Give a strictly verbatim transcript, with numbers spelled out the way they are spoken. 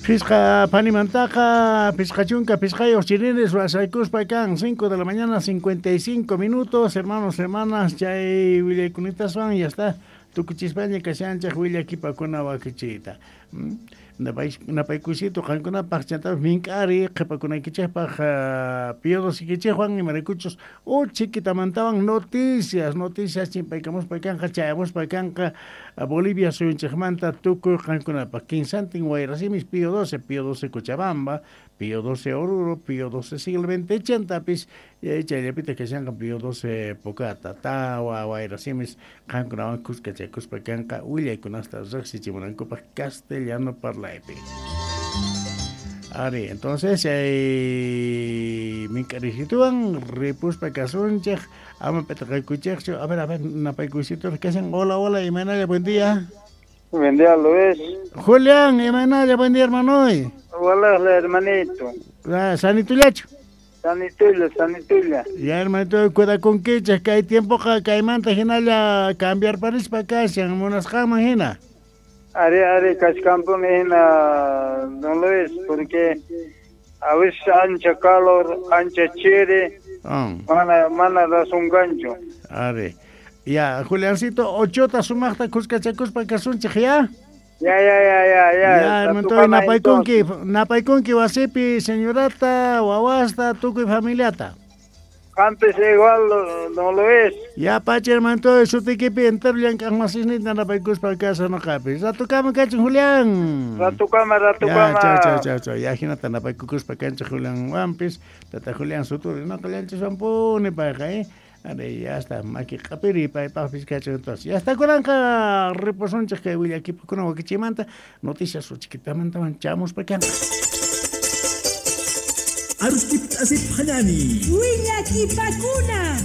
Phisqa phanimantaqa, phisqa chunka, phisqayuq chirinis wasaykuspa kan, cinco de la mañana, cincuenta y cinco minutos, hermanos, hermanas, chay willaykunataswan ya está, tukuchispaña kashanchik willakipakuna wakichiyta. Mm. Napaykusito qankunapaq chantapis mink'ari qhipakunaykichikpaq Pío Doce imaraykuchus uchikitamantawan noticias, noticias chimpaykamuspa kanqa, chayamuspa kanqa Bolivia suyunchikmanta tukuy qankunapaq. Kinsantin wayrasimis Pío doce, Pío doce Cochabamba, Pío doce Oruro, Pío doce Siglo veinte chantapis chayllapita kashanqa Pío doce Pocata, tawa wayrasimis qankunawan kuskachakuspa kanqa willaykunasta riqsichimunankupaq castellano parlaypi. Ari, entonces chay mink'arisituwan ripuspa kasunchik, ama p'itaqaykuchikchu. A ver, a ver, napaykusito kashan. Hola, hola, imaynalla, buen día. Buen día, Luis. Julián, imaynalla, buen día, hermano. Hola, hermanito. Ah, sanitullachu? Sanitulla, sanitulla. Ya, hermanito, cuidakunkichik, kay tiempoqa kaymanta hinalla cambiar parispa kashan, munasqanman hina. Ari, ari, kachkanpuni hina, don Luis, porque a veces ancha calor, ancha chiri, Oh. mana, mana razón kanchu. Ari. Ya, Juliancito, ochota sumaqta kuskachakuspa kasunchik, ya? Ya, ya, ya, ya, ya. Ya, hermanito, napaykunki, napaykunki wasipi señorata, wawasta, tukuy familiata. Antes igual, don Luis. Ya, pacha, hermanito, sutikipi entero llank'aqmasisnita napaykuspa kasa noqapi. Ratukama kachun, Julián. Ratukama, ratukama. Ya, chao, chao, chao, chao. Ya, hinata napaykukuspa kanchik Julián wampis. Tata Julián Suturi, noqallanchis payqa, eh. Ari, ya está, maki q'apiri paypaqpis kachun entonces. Ya está kunanqa ripusunchik kay willakipakuna wakichimanta noticias uchikipamantawan chamuspa kanqa. Aruskip asip hanani. Willakipakuna.